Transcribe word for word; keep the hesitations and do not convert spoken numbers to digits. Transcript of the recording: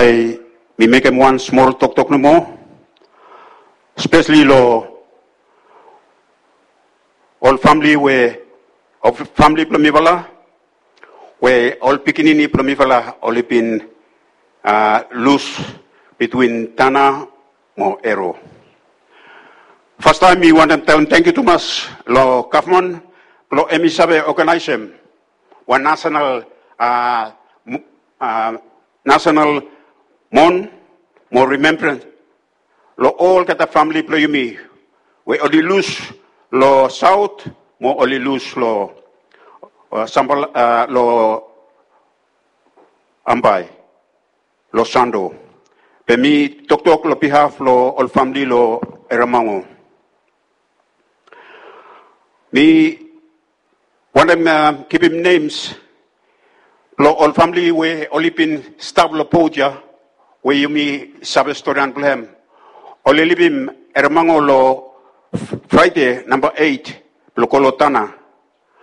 Ei, mi mekem wan smol toktok nomo, spesli long ol famili we, ol famili blong mifala, we ol pikinini blong mifala oli bin, a, lus bitwin Tana mo Ero. Fastaem mi wantem talem tangkiu tumas long gavman blong hemi save oganaesem wan nasenal, a, m-, a, nasenal mon mo rimembrans long olgeta famili blong yumi we oli lus long saot mo oli lus long, a, Sambal, a, long Ambae, long Santo. Be mi toktok long bihaf long ol famili long Eremago. Mi wantem, a, givim nems blong ol famili we oli bin stap long bot ya, we yumi save storian blong hem. Oli livim Eremago long Fraede namba eit blong go long Tana.